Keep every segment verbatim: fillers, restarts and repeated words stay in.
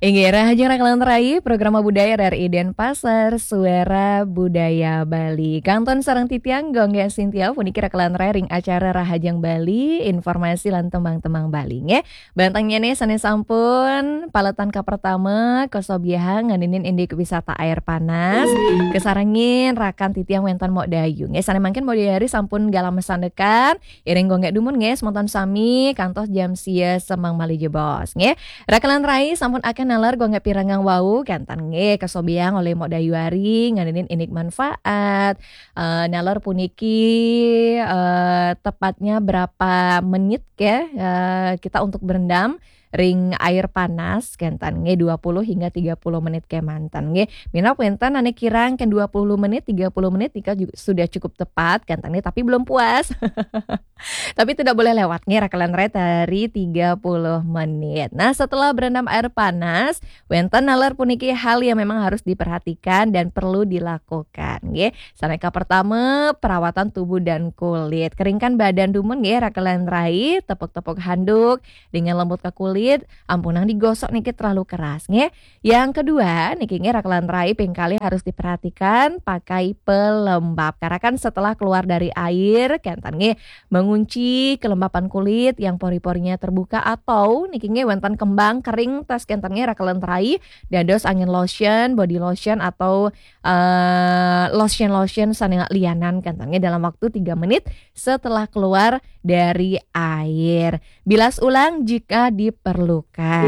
Inggih, rahajeng Rakelan Rai, Programa Budaya R R I Denpasar, Suara Budaya Bali. Kantun sareng titiang Gung Gé Sintia, puniki Rakelan Rai ring acara Rahajeng Bali, informasi lan tembang-tembang Bali, nggih. Bantengné sané sampun paletan kapertama, kasobiahang nganinin indik wisata air panas, kasarengin rakan titiang wénten Mok Dayu, nggih. Sané mangkin Mok Dayu ari sampun galah masandekan, iring Gung Gé dumun, nggih, semeton sami kantos jam sia semeng malih jebos, nggih. Rakelan Rai sampun akéh naler Gung Gé pirengang wau, kénten nggih kasobiahang olih Mok Dayu ari nganinin indik manfaat. Eh, naler puniki, eh, tepatnya berapa menit, nggih, eh, kita untuk berendam ring air panas, kénten nggih dua puluh hingga tiga puluh menit kémanten nggih. Minab wénten ané kirang kén dua puluh menit, tiga puluh menit nika juga sudah cukup tepat, kénten nggih, tapi belum puas. Tapi tidak boleh lewat nggih, Rakelan Rai, dari tiga puluh menit. Nah, setelah berendam air panas, wénten naler puniki hal yang memang harus diperhatikan dan perlu dilakukan, nggih. Sané kapertama, perawatan tubuh dan kulit. Keringkan badan dumun nggih, Rakelan Rai, tepuk-tepuk handuk dengan lembut ke kulit, ampunang digosok niki terlalu keras, nggih. Yang kedua, niki nggih, Rakelan Rai, ping kalih harus diperhatikan pakai pelembab. Karena kan setelah keluar dari air, kénten nggih, mengunci kelembapan kulit yang pori-porinya terbuka atau niki nggih wénten kembang kering tas kénten nggih, Rakelan Rai, dados angin lotion, body lotion atau, eh, lotion-lotion sané lianan kénten nggih dalam waktu tiga menit setelah keluar dari air. Bilas ulang jika diperlukan.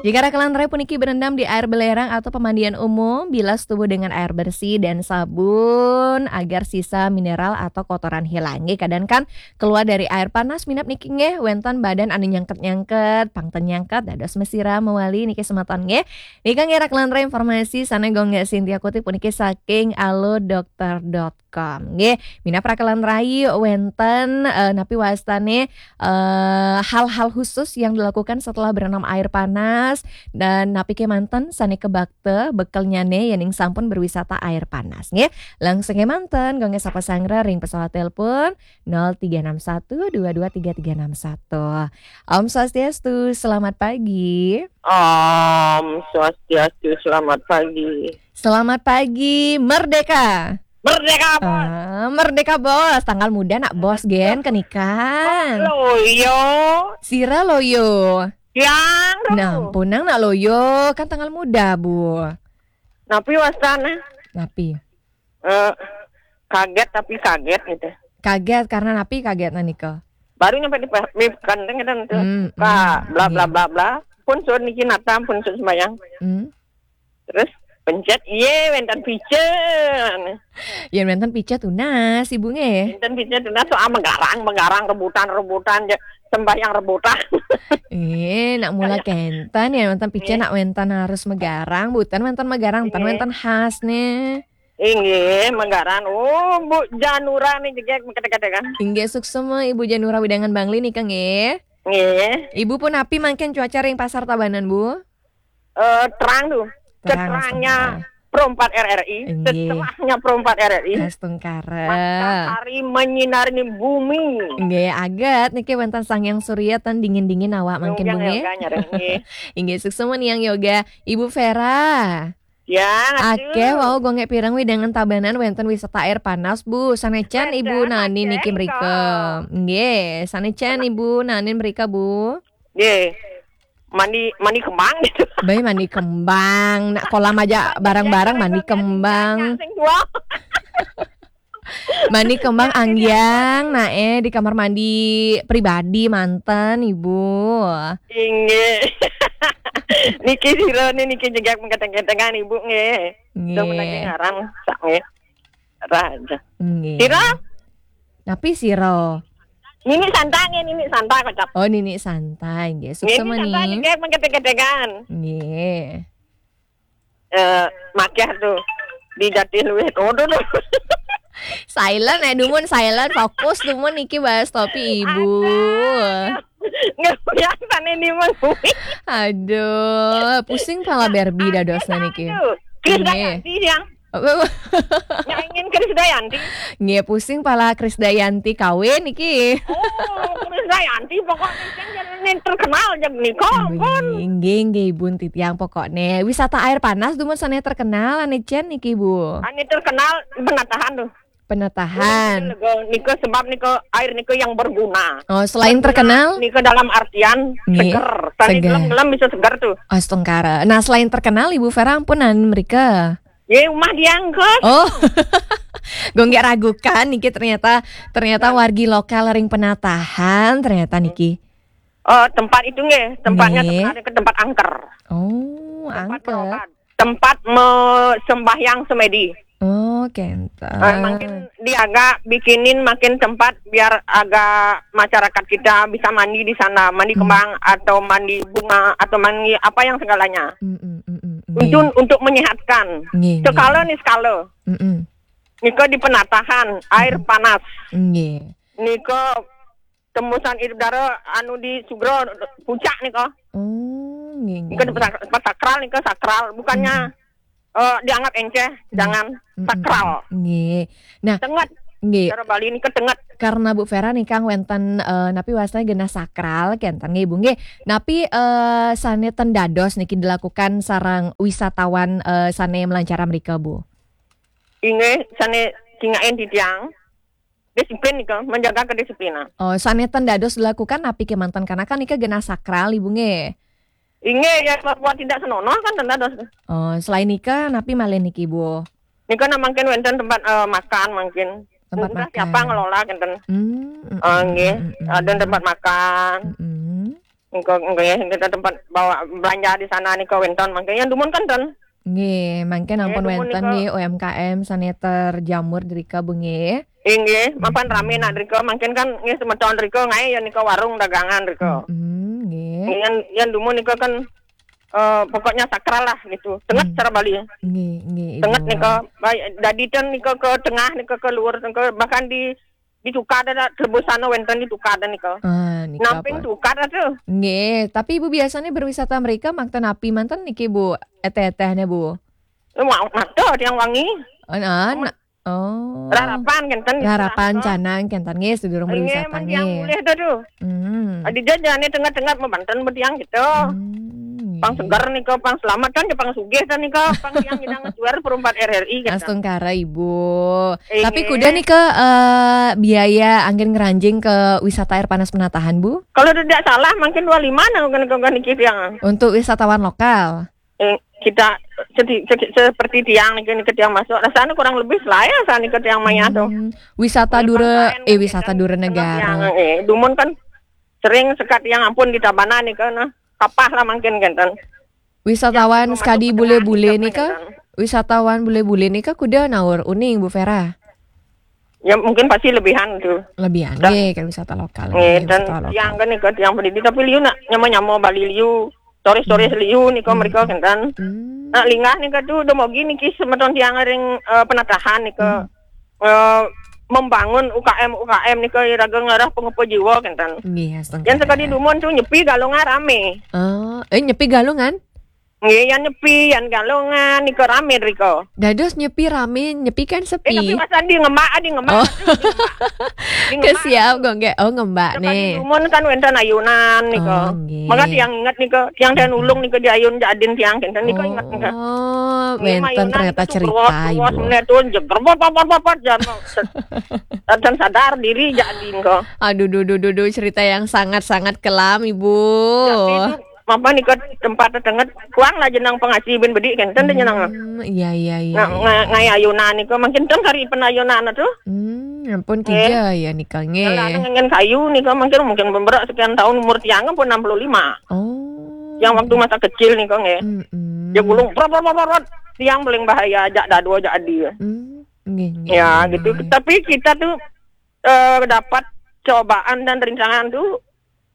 Jika Rakelan Rai puniki berendam di air belerang atau pemandian umum, bilas tubuh dengan air bersih dan sabun agar sisa mineral atau kotoran hilang. Nggih, kadang kan keluar dari air panas minab niki nggih wénten badan anu nyangket-nyangket, pang ten nyangket, dados masiram mawali niki semeton nggih. Nika nggih, Rakelan Rai, informasi sané Gung Gé Sintia kutip puniki saking alodokter dot com. Nggih, minab Rakelan Rai wénten, eh, napi wastané, eh, hal-hal khusus yang dilakukan setelah berendam air panas dan napi kémanten sané kabakta bekelnyané yéning sampun berwisata air panas nggih. Langsung kémanten Gung Gé sapa sangra ring pesawat telepon nol tiga enam satu dua dua tiga tiga enam satu. Om Swastiastu, selamat pagi. Om Swastiastu, selamat pagi. Selamat pagi, Merdeka. Merdeka, Bos. Ah, Merdeka, Bos. Tanggal muda nak Bos gén kenikan. Loyo. Sira loyo. Yang. Nah, punang nak loyo, kan tanggal muda, Bu. Napi wastané? Napi? Eh, kaget tapi kaget gitu. Kaget karena napi kaget nika? Baru nyampe di pe-, di Kandeng gitu, tuh. Hmm, Ka, hmm, bla, bla, iya, bla, bla. Pun suruh niki natam, pun suruh sembayang. Hmm. Terus pencet, iye, wénten pica. Yén wénten pica tunas, Ibu nggih. Wénten pica tunas, soal menggarang, menggarang, rebutan, rebutan, ja-, sembahyang rebutan. Eh, nak mula kénten yén wénten pica, iya, nak wénten harus megarang, boten wénten megarang, ten, iya, wénten khas nih. Inggih, menggarang. Oh, Bu Janura nih jegég kata-kata kan. Inggih, suksma Ibu Janura wewidangan Bangli nika nggih. Nggih. Ibu pun napi mangkin cuaca ring Pasar Tabanan, Bu? Eh, terang tuh. Terang, seterangnya astungkara. Pro empat R R I, inggih, seterangnya Pro empat R R I. Astungkara. Matahari menyinari bumi. Nggih, aget niki wénten Sang Hyang Surya ten dingin-dingin awak mangkin, Bu, nggih. Yoga, nggih. Inggih, suksma Niang Yoga. Ibu Vera. Ya, aduh. Akéh wau Gung Gé pireng wewidangan Tabanan wénten wisata air panas, Bu. Sané can Ibu naenin niki mrika. Nggih, sané can Ibu naenin mrika, Bu. Nggih. Mandi, mandi kembang gitu. Baé mandi kembang, nak kolam aja bareng-bareng mandi kembang. Sing dua. Mandi kembang anggiang, nah, eh, di kamar mandi pribadi manten, Ibu. Inggih. Niki sira nih, niki jegég mengketeng-ketengan, Ibu, nggih. Nggih. Sudah menanti ngarang, sak, nggih. Raja. Nggih. Sira? Napi sira? Nini Santa nggih, Nini Santa kocap. Oh, Nini Santa nggih. Nggih, suksma Nini Santa niki. Jegég mengketeng-ketengan. Nggih. Eh, makiah tuh. Di Jatiluwih. Waduh, tuh. Silent, eh, dumun silent, fokus dumun niki bahas topik Ibu. Aduh. Nggak biasa nih, nih, Mang. Aduh, pusing pala Barbie dadosna niki. Aduh. Chris nggih. Dayanti yang Nyaingin Krisdayanti. Nggih, pusing pala Krisdayanti kawin iki. Oh, Krisdayanti pokoknya yang terkenal aja nih, ampun. Nggih, nggih, nggih, Ibu, titiang pokoknya. Wisata air panas dumun sané terkenal, ané Cen niki, Bu. Ané terkenal Penatahan tuh. Penatahan. Lega, nika sebab nika air nika yang berguna. Oh, selain terkenal? Nika dalam artian Nggih, seger. Sané seger. Gelem-gelem bisa seger tuh. Astungkara. Nah, selain terkenal, Ibu Vera ampunan mrika. Ye, rumah diangkut. Oh. Gue nggak ragukan niki, ternyata, ternyata wargi lokal ring Penatahan ternyata niki. Eh, tempat itu nggih, tempatnya Nggih. Sebenarnya ke tempat angker. Oh, tempat angker. Berobat. Tempat me-, sembahyang semedi. Oh, kenten. Eh, makin diagak bikinin makin tempat biar agak masyarakat kita bisa mandi di sana, mandi Hmm. kembang atau mandi bunga atau mandi apa yang segalanya. Mm, mm, mm, mm, nggih. Untuk, untuk menyehatkan. Nggih, nggih. Sekala nih sekala. Mm, mm. Nika di Penatahan, air Mm. panas. Nggih. Nika tembusan air udara anu di Sugro puncak nika. Oh, nggih, nggih, Nika nggih. Tempat sak-, tempat sakral nika sakral, bukannya, Mm. eh, dianggap enceh, Mm. jangan Mm, sakral. Mm. Nggih. Nah, tenget. Nggih. Cara Bali nika tenget. Karena Bu Vera nika wénten, eh, napi wastane genah sakral kenten nggih, Bu, nggih. Napi, eh, sané ten dados niki dilakukan sareng wisatawan, eh, sané melancara mrika, Bu? Inggih, sané cingakin titiang. Disiplin nika, menjaga kedisiplinan. Oh, sané ten dados dilakukan napi kemanten, karena kan nika genah sakral, Ibu, nggih. Inggih, ya, buat tidak senonoh kan ten dados. Oh, selain nika napi malih niki, Bu? Nika nah mangkin wénten tempat, eh, makan mangkin. Tempat Entah makan. Siapa ngelola kenten. Hmm, mm, Eh, mm, nggih, mm, mm, ada mm. Tempat makan. Mm, mm. Engko, engko ya, kita tempat bawa belanja di sana nika wénten mangkin yang dumun kan ten. Nggih, mangkin Nggih, ampun dumun wénten nika. Nggih U M K M sané terjamur drika, Bu, nggih. Inggih, mapan Mm-mm. Rame nak drika, mangkin kan nggih semeton drika ngaé ya nika warung dagangan drika. Mm-mm, nggih. Yang, yang dumun nika kan, eh, pokoknya sakral lah gitu. Tenget Hmm. Cara Bali. Nggih, nggih, Tenget Ibu. Nika, baik, dadi ten nika ke tengah, nika ke luar, nika bahkan di, di tukad ada, tebusan wénten di tukad nika. Ah, nika Namping pun. Tukad ada. Nggih, tapi Ibu biasanya berwisata mrika makta napi manten niki, Bu? Eteh-etehnya, Bu? Wah, ada yang wangi. Oh, nah, Amun nah. Oh. Rarapan kenten gitu Rarapan lah, Kak. Canang kenten nggih sedurung Nggih, berwisata men yang nggih. Mulih dah tuh. Hmm. Adi jajane tengah-tengah membanten bediang gitu. Hmm, Pang nggih. Segar nih kok, pang selamat kan, pang sugih kan nih kok, pang yang kita ngejual perempat R R I gitu. Astungkara, Ibu. Inggih. Tapi kuda nih ke, eh, biaya anggen ngeranjing ke wisata air panas Penatahan, Bu? Kalau tidak salah mungkin dua lima nah, kan, kan, kan, niki yang. Untuk wisatawan lokal. Eh, kita sedi-, sedi-, seperti tiang niki, niki tiang masuk. Rasanya kurang lebih selaya saat niki tiang maya tuh. Hmm, wisata Oleh dura, bangsaen eh, kan wisata kita dura tengah negara. Tiang, eh, dumun kan sering sekat tiang ampun di Tabanan nih kan, nah, kapah lah mungkin kan. Wisatawan Yang sekadi masuk ke tengah bule-bule nih kan, kan. Wisatawan bule-bule nih kan kuda naur uning, Bu Vera. Ya, mungkin pasti lebihan tuh. Lebihan Dah. Nggih, kan wisata lokal, Nggih, nggih, dan wisata lokal. Tiang kan nih kan tiang pendidi, tapi liu nak nyama-nyama Bali liu. Sore-sore Hmm. Liu nih kok Hmm. Mereka kan. Hmm. Nah, linggah nih kan tuh udah mau gini kis semeton tiang ring, eh, Penatahan nih ke, Hmm. eh, membangun U K M, U K M nih ke raga ngarah pengupa jiwa kan. Nggih, astungkara. Yang sekali dumun tuh nyepi galungan rame. Oh, eh, nyepi galungan? Nggih, yang nyepi, yang galungan nih ke rame riko. Dados nyepi rame, nyepi kan sepi. Eh, tapi Mas Andi ngemak, Adi ngemak, Oh. Adi ngemak. Adi ngemak. Kesiap kok nggak? Oh, ngembak Sekali nih. Dumun kan wénten ayunan nih Oh, kok. Nggih. Maka tiang inget nih kok, tiang dan Hmm. Ulung nih kok di ayun jadin tiang kan nih kok inget nih kok. Oh, nggih, wénten mayunan ternyata itu cerita, ruwet, ruwet, Ibu. Meneh tuh jeger, bot, bot, bot, bot, bot, jangan mau se-, dan sadar diri jadi engko. Aduh, duh, duh, duh, duh, cerita yang sangat-sangat kelam, Ibu. Jadi itu, apa nih, kok tempat tetenget, kuang lah jenang pengaji bin bedik kan, ten jenang. Hmm, iya, iya, iya, Nah, iya. Nga-, ngai ayunan nih, kok makin tem kari pen ayunan tuh. Hmm, ampun, Nggih. Tiga ya nika, nggih. Lah, ngengen kayu nih, kok mungkin, mungkin beberak sekian tahun umur tiang pun enam puluh lima. Oh. Yang waktu masa kecil nih, kok, nggih. Mm-mm. Dia gulung, prot, prot, prot, prot, prot. Tiang paling bahaya, jak dadu, jak adi. Hmm, nggih, nggih, Ya, nggih, gitu. Nggih. Tapi kita tuh, eh, dapat cobaan dan rintangan tuh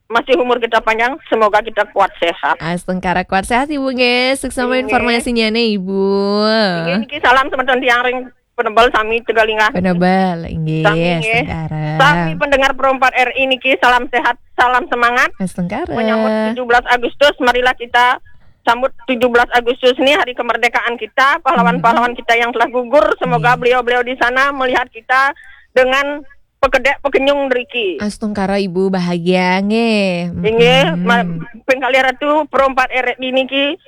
masih umur kita panjang, semoga kita kuat sehat. Astungkara kuat sehat, Ibu, nggih. Sukses sama Nggih. Informasinya nih, Ibu. Nggih, niki salam semeton tiang ring Penebel sami Tegalinga. Penebel, nggih, Sami, nggih. Astungkara. Sami pendengar Pro empat R I niki, salam sehat, salam semangat. Astungkara. Menyambut tujuh belas Agustus, marilah kita sambut tujuh belas Agustus nih, hari kemerdekaan kita, pahlawan-pahlawan kita yang telah gugur, semoga beliau-beliau di sana melihat kita dengan pekedek pekenyung driki. Astungkara Ibu bahagia nggih. Inggih, ma- ping kalih Ratu, Pro empat R I niki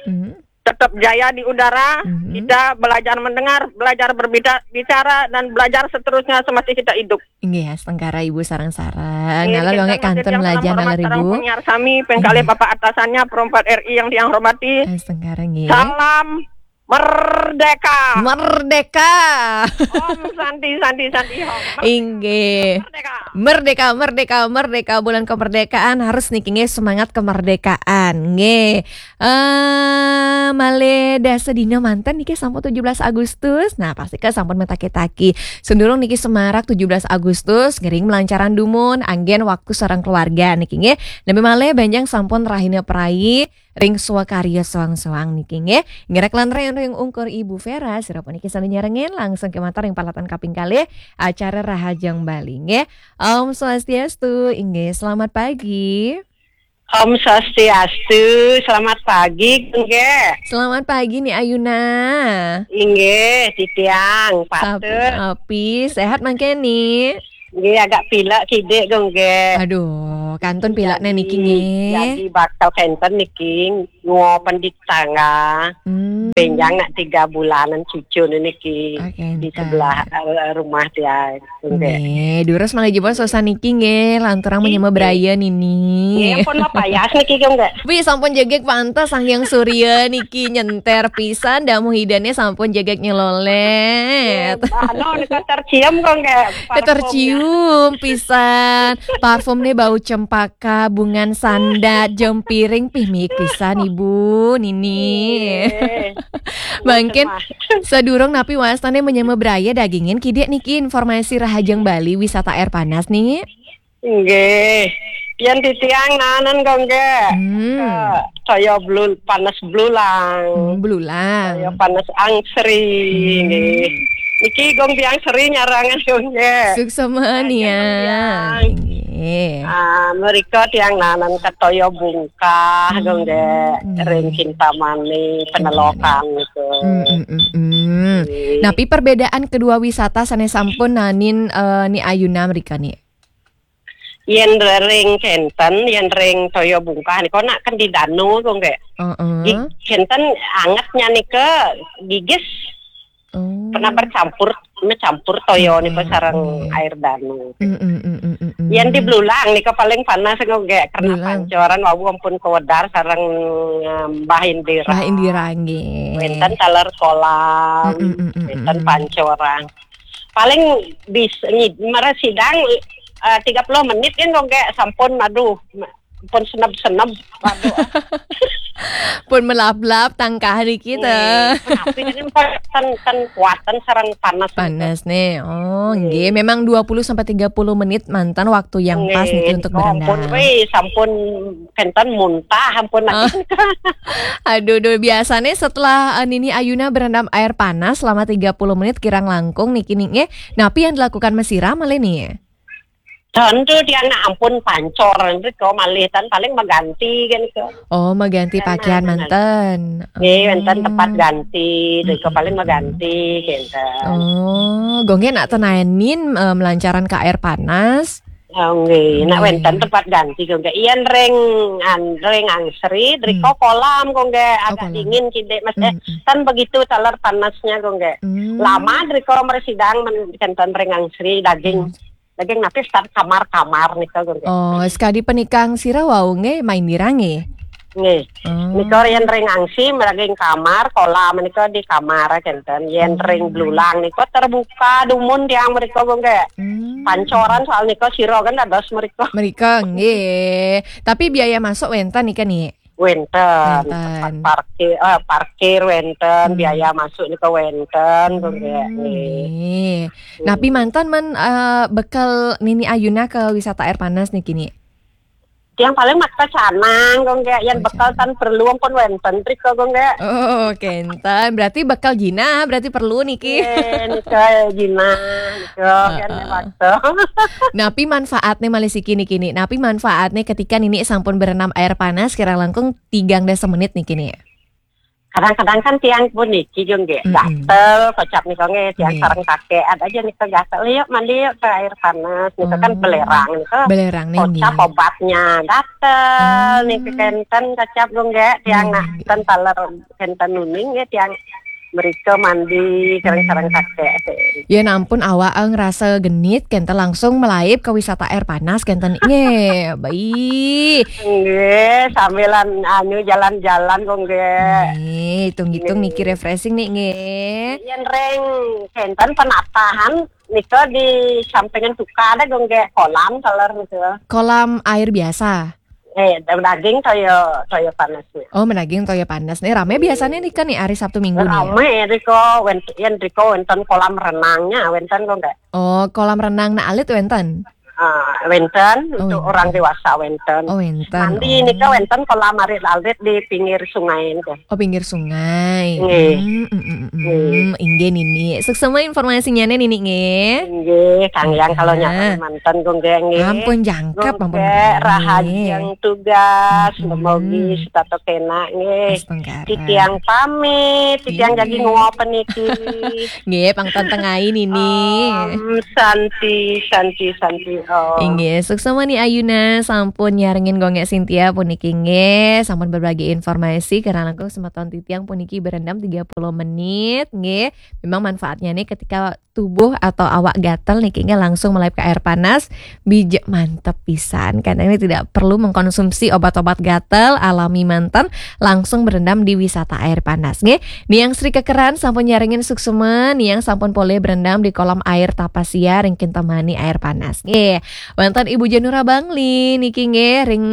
tetap jaya di udara. Kita belajar mendengar, belajar berbicara, dan belajar seterusnya semasa kita hidup. Inggih, astungkara Ibu sareng-sareng. Nala dongé kantun melajah nala Ibu. Penyiar sami, ping kalih Bapak atasannya, Pro empat R I yang tiang hormati. Astungkara nggih. Salam merdeka. Merdeka. Om Santi, Santi, Santi, Om. Inggih. Merdeka, merdeka, merdeka. Bulan kemerdekaan harus niki nggih, semangat kemerdekaan nggih. Eh, malih dasa dina manten niki sampun tujuh belas Agustus. Nah, pasti ke sampun metaki-taki. Sendurung niki semarak tujuh belas Agustus, ngiring melancaran dumun, anggén waktu sareng keluarga niki nggih. Napi malih benjang sampun rahina perai ring swakarya soang-soang niki nggih. Ngiring lan ring ungkur Ibu Vera, sira puniki sami nyarengin langsung kemanten ring peralatan kaping kalih acara Rahajeng Bali nggih. Om Swastiastu, inggih, selamat pagi. Om Swastiastu, selamat pagi, Gung Gé. Selamat pagi, Ni Ayuna. Inggih, titiang, patut. Api, sehat mangkén, Ni? Nggih, agak pilek kidik, Gung Gé. Aduh, kantun pilek niki nggih. Jadi bakal kenten niki, nguopen di tangga. Hmm. Benjang nak tiga bulanan cucu niki di sebelah eh, rumah dia. Nggih, durus malih jebos sosan niki nggih, lanturang menyama braya nini. Nggih, pun mah payas niki, Gung Gé. Wi, sampun jegeg pantes Sang Hyang Surya niki nyenter pisan, damuh idane sampun jegeg nyelolet. Anu, nika tercium, Gung Gé. Tercium pisan. Parfumnya bau cempaka, bungan sandat, jempiring, pih miik pisan Ibu nini. Mangkin sadurung napi wastane menyama braya dagingin kidik niki informasi Rahajeng Bali wisata air panas nih. Nggih. Yen titiang nanen, Gung Gé. Hmm. Saya blul panas blulang. Hmm, blulang. Saya panas angsri hmm. Nggih. Niki Gung Biang Sri nyarangan, Gung Gé. Suksma ya. Nggih. Ah, mereka tiang nanen ketoyo bungkah, hmm. Gung Gé. Ring Kintamani, Penelokan gitu. Hmm, hmm, hmm, hmm. Napi perbedaan kedua wisata sane sampun nanin uh, Ni Ayuna mrika nih? Yen ring kenten, yen ring toya bungkah nika nak kan di danu, Gung Gé. Heeh. Kenten angetnya nika gigis. Oh. Pernah bercampur, mencampur toyo hmm. Nika sareng hmm. Air danu. Hmm, hmm, hmm, hmm, hmm. Yen di Blulang nika paling panas, Gung Gé, karena pancoran wau ampun kewedar sareng Mbah Indira. Mbah Indira nggih. Wenten taler kolam, hmm, hmm, hmm, hmm, wenten hmm. Pancoran. Paling bis ngid, mara sidang uh, tiga puluh menit kan, Gung Gé, sampun, aduh, pun senep-senep, aduh. Pun melap-lap tangkah niki ta. Tapi kan ten, ten kuatan sareng panas. Panas nih. Oh, nggih. Memang dua puluh sampai tiga puluh menit mantan waktu yang pas niki untuk berendam. Ampun, wih, sampun kenten muntah, ampun. Oh. Aduh, duh, biasanya setelah uh, Nini Ayuna berendam air panas selama tiga puluh menit kirang langkung niki nih. Napi yang dilakukan mesira malih nih? Tentu dia nak ampun pancor, itu kau malih tan paling mengganti kan itu. Oh, mengganti pakaian manten. Nggih, wenten tempat ganti, itu kau paling mengganti gitu. Oh, Gung Gé nak tenanin uh, melancaran ke air panas. Oh, nggih, nak wenten tempat ganti, Gung Gé. Yen ring an ring angsri, driko hmm. Kolam, Gung Gé, oh, agak kolam. Dingin kidik, Mas. Hmm. Eh, hmm. Kan begitu taler panasnya, Gung Gé. Hmm. Lama driko mersidang men kenten ring angsri daging. Hmm. Daging napi start kamar-kamar nika, Gung Gé. Oh, sekadi penikang sira wau nggih main dirangi. Nggih. Oh. Nika yen ring angsri meraging kamar, kolam nika di kamar kenten. Yen hmm. Ring Blulang nika terbuka dumun tiang mriko, Gung Gé. Hmm. Pancoran soal nika sira kan dados mriko. Mriko nggih. Tapi biaya masuk wenten nika nih. Wenten. Wenten. Parkir, uh, parkir wenten, hmm. Biaya masuk nika wenten, hmm. Gung Gé. Nggih. Napi mantan man uh, bekel Nini Ayuna ke wisata air panas nih kini? Yang paling makta canang, Gung Gé. Yang oh, bekel tan perlu ampun wenten trik, Gung Gé. Oh, kenten. Berarti bekel jina, berarti perlu niki. Iya, nika jina, nika uh, kan waktu. Napi manfaatnya malih siki niki nih? Napi manfaatnya ketika nini sampun berenam air panas kira langkung tigang dasa menit niki nih? Kadang-kadang kan tiang puniki, Gung, nggih, Mm-mm. gatel, kocap nika nggih, tiang Nggih. sareng kakek, ada aja nika gatel, "Yuk mandi yuk ke air panas," nika kan Oh. belerang, nika Belerang nih, kocap nggih. obatnya, gatel, Oh. nika kenten kocap, Gung, nggih, tiang Nggih, nah, nggih. ten taler kenten nuning, nggih, tiang mereka mandi, sareng-sareng Hmm. kakek. Ya ampun, awak, eh, ngerasa genit, kenten langsung melaib ke wisata air panas, kenten, nggih, baik. Nggih, sambilan, anu, jalan-jalan, Gung, nggih. Nggih, hitung-hitung Nggih. niki refreshing nih, nggih. Yen ring kenten penatahan nika di sampingan tukar ada, Gung, nggih, kolam taler nika. Kolam air biasa? Eh, da-, daging toya, toya panas nih. Oh, menaging toya panas nih. Rame biasanya nih kan nih hari Sabtu Minggu nih. Rame riko, wen-, yen riko wenten kolam renangnya, wenten, Gung, nggih. Oh, kolam renang na alit wenten? Ah, wenten, Oh, untuk wenten. orang dewasa wenten. Oh, wenten. Mandi Oh. nika wenten kolam arit-arit di pinggir sungai nika. Oh, pinggir sungai. Nggih. Hmm, mm, mm, mm, mm. Nggih. Inggih, Nini. Suksema informasinya nih, Nini, nggih. Nggih, Kang Yang kalau Heeh. nyata manten, Gung, nggih, nggih. Ampun, jangkep, Gung, ampun, nggih, Nini. Rahajeng tugas, Mm-mm. semogi setata kena, nggih. Astungkara. Titiang pamit, titiang Nggih. jagi nguap niki. Nggih, pang tentengai, Nini. Om Santi, Santi, Santi, Om. Inggih, suksema nih Ayuna, sampun nyarengin Gung Nggih Sintia puniki nggih, sampun berbagi informasi, karena langkung semeton titiang puniki berendam tiga puluh menit, nggih. Memang manfaatnya nih ketika tubuh atau awak gatel niki nggih langsung melaib ke air panas, bijak mantep pisan. Karena ini tidak perlu mengkonsumsi obat-obat gatel, alami manten, langsung berendam di wisata air panas, nggih. Niang Sri Kekeran sampun nyarengin suksema, niang sampun polih berendam di kolam air Tapasia ring Kintamani air panas, nggih. Wenten Ibu Janura Bangli niki nggih ring,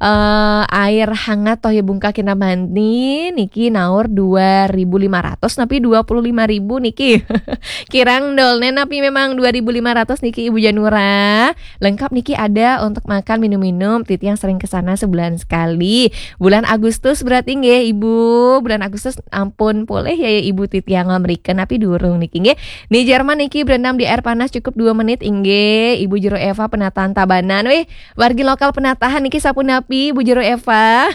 eh, air hangat toya bungkah Kintamani niki naur dua ribu lima ratus napi dua puluh lima ribu niki. Kirang dolne napi memang dua ribu lima ratus niki, Ibu Janura. Lengkap niki ada untuk makan, minum-minum, titiang sering ke sana sebulan sekali. Bulan Agustus berarti nggih, Ibu. Bulan Agustus ampun polih ya, ya Ibu, titiang mrika napi durung niki nggih. Ni Jerman niki berendam di air panas cukup dua menit inggih. Ibu Jero Eva penataan Tabanan. Wih, wargi lokal penatahan niki sapunapi, Ibu Jero Eva?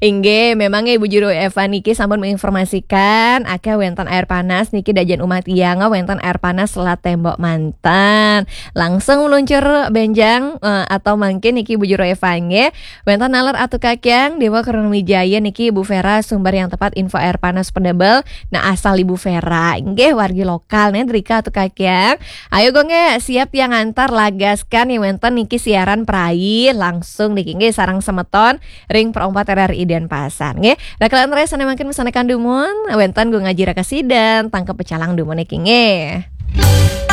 Inggih, memang Ibu Jero Eva niki sampun menginformasikan, akeh wenten air panas niki dajen umah tiang, wenten air panas Selat Tembok manten. Langsung meluncur benjang, eh, atau mangkin niki Ibu Jero Eva nggih. Wenten naler Atu Kakyang, Dewa Kronwijaya niki Ibu Vera, sumber yang tepat info air panas pedebel. Nah, asal Ibu Vera, nggih, wargi lokal nih, drika Atu Kakyang. Ayo, Gung, nggih, siap yang antar lagaskan nih wenten niki siaran prai langsung niki nggih sareng semeton ring Pro empat R R I Denpasar nggih. Rakalan res sane mangkin mesanekan dumun, wenten Gung Aji Raka Sidan, tangkep pecalang dumun niki nggih.